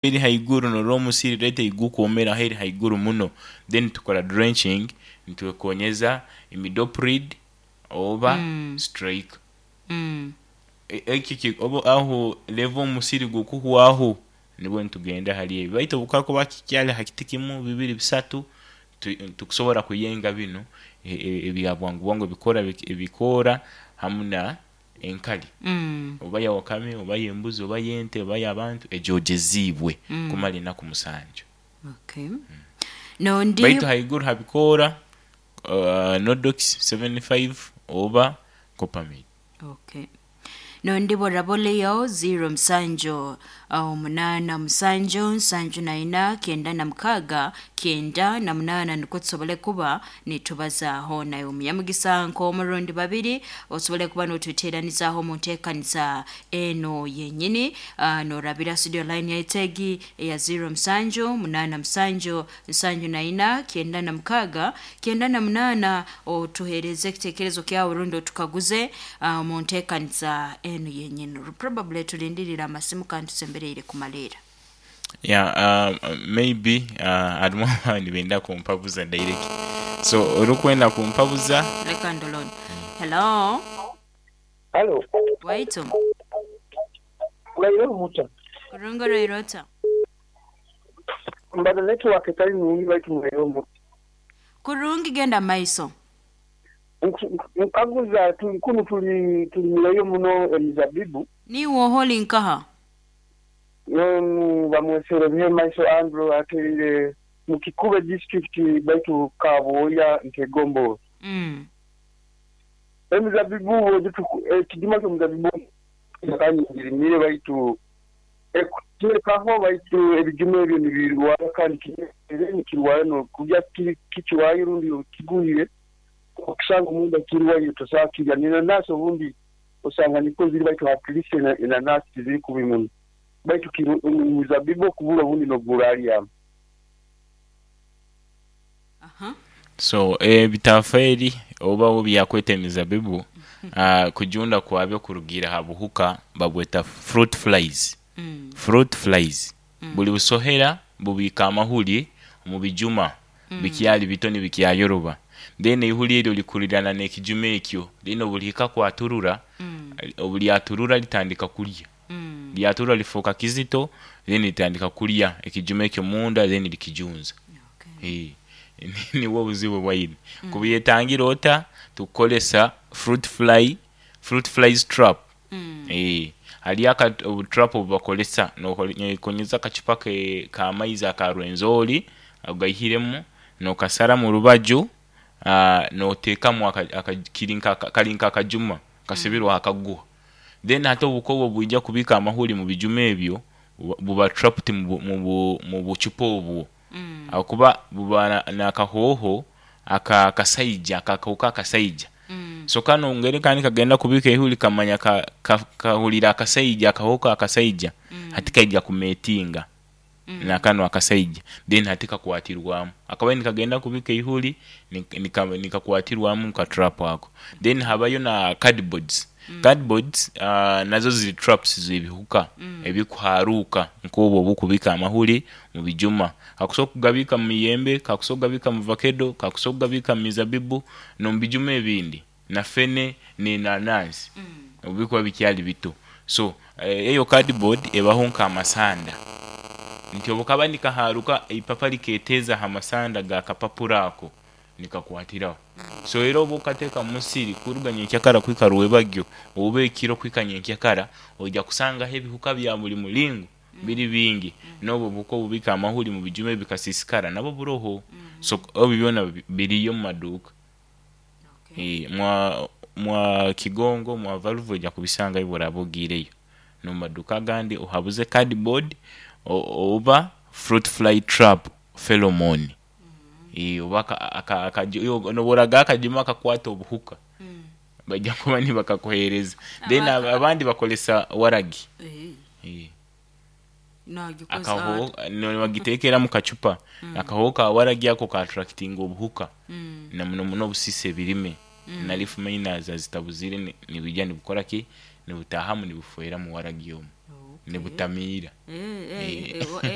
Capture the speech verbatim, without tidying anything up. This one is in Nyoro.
Eri haiguru norora omusiri rate egukwomera eri haiguru muno, then tukora drenching nitwekonyeza imidoprid oba Mm. Strike. Mm. E- eki ki- obu aho level omusiri gukuhwaho, nibwo nitugenda hali ebi, baitu obu kakuba kikyali ha kiti kimu, bibiri, bisatu, tu- tukusobora kuyenga binu e- e- ebya bwangu bwangu, ebikora ebikoora hamu na enkali, Mm. oba ya wakame, oba y'embuzi, oba y'ente, oba y'abantu ejoogeziibwe Mm. kumara enaku musanju. Okay. Nondi Baitu haiguru habikoora, uh, Nodox seventy-five oba Copamid. Okay. Nondi boraboleyo zero musanju omunaana musanju nsanju na ina kyenda na mukaaga kyenda na munaana, nukwo tusobole kuba nitubazaaho nawe omunyamugisa nk'omurundi babiri, osobole kuba notweteranizaaho omu nteekaniza eno yenyini, uh, norabira studio line yaitu egi eya zero musanju munaana musanju nsanju na ina kyenda na mukaaga kyenda na munaana, otuheereze ekiteekerezo kyawe rundi otukaguze uh, mu nteekaniza eno yenyini. Probably tulindirira amasimu kandi tusembereire kumaleera. Yeah, uh, maybe uh, harimu abandi benda kumpabuza direct, so orikwenda kumpabuza. Leka ndoloni. Hello? Halo, Waitu. uraire omuta. Kurunga roirota. Mbaza network etali nungi, baitu muraire omuta. Kurungi, genda maiso. Nkaguza tuli kunu tuli tulimirayo muno emizabibu. Niwe oholi nkaha? Nonu bamwesere Bihemaiso Andrew, aterire mu Kikube District, baitu Kaboya Ntegombo. Mm. Emizabibu ekijuma ky'omuzabibu kanyirimire, baitu ekuteekaho, baitu ebijuma ebyo nibirwara, kandi kimere nikirwara nokurya kikiwayo rundi kiguhire, okusanga omunda kirwaire, tosobola kirya. N'enanasi obundi osanga niko ziri, baitu at least enanasi tiziri kubi muno, baitu omuzabibu okubura obundi nogura alyamu. Aha. So ebitafaeri oba byakweta emizabibu, uh, kujunda kwabyo kurugiira ha buhuka babweta fruit flies. Mm. Fruit flies, Mm. buli busohera bubiika amahuri omu bijuma Mm. bikyali bito nibikyayoroba, then eihuri eryo likurirana n'ekijuma ekyo, then obulihika kwaturura, Mm. obulyaturura litandika kulya. Mm. Lyaturura lifuuka kizito, then litandika kulya ekijuma ekyo munda, then likijunza. Okay. Eh, nibwo obuzibu bwaine. Kubyetangira ota? Tukukolesa fruit fly fruit flies trap. Mm. Eh, hariyo aka obutrap obubakolesa, nokonyeza akacupa ke k'amaizi aka Rwenzori, ogaihiremu nokasara mu rubaju, uh, noteekamu aka- aka- kiri nka kali nk'akajuma kasibirwe akaguha, then hati obuko obwo bwija kubika amahuri mu bijuma ebyo, buba- buba trapped mu bu- mu bu- mu bucupa obwo, Mm. ahakuba buba na- n'akahooho aka akasaija, akakahuka akasaija. Mm. So kano ngeri kandi kagenda kubika ehuri, kamanya ka, ka, kahurira akasaija, akahooko akasaija. Mm. Hati kaija kumetinga Mm. nakano akasaija, then hati kakwatirwamu, akabaye nikagenda kubika ihuri, nika- nikakwatirwamu nka trap ako. Then habayo na cardboards. Mm. Cardboards uh, nazo ziri traps z'ebihuka Mm. ebikuharuka nk'obwo obukubika amahuri mu bijuma. Kakusobola kugabika mu miyembe, kakusobola kugabika mu vakedo, kakusobola kugabika mu mizabibu n'omu bijuma ebindi, na fene n'enanansi, Mm. obubikuba bikyali bito. So eh, eyo cardboard ebaho nk'amasanda, nti obukaba nikaharuka, ipapa liketeeza ha masanda ga kapapura ako, nikakwatiraho. So era oba okateeka mu musiri kuruga nyenkyakara kuhika rwebagyo, oba ekiro kuhika nyenkyakara, oija kusangaho ebihuka bya buli mulingo biri bingi, n'obwo obuhuka obubika amahuri mu bijuma ebikasiisikara nabwo buroho. So ebi byona bi- biriyo mu maduuka. Okay. Eh, mwa mwa Kigongo, mwa Valvo, ojja kubisangayo bw'oraaba ogiireyo n'omu maduuka agandi, ohabuze cardboard o- oba fruit fly trap pheromone. Eh, oba aka- aka- akaji- yo- noboraga akajuma akakwata obuhuka, Mm. bajja kuba nibakakuheereza. Then Abaka- ab- abandi bakolesa waragi. Eh, Eh, nagikoze. Akahoho nibagiteekera mu kacupa, akahoho ka waragi ako ka attractinga obuhuka, Mm. na muno muno obusisa ebirime na leaf miners azitabuzire, ni- nibijja nibukora ki, nibutahamu, nibufwera mu waragi omu. Nibutamiira. Eh, eh, eh, eh,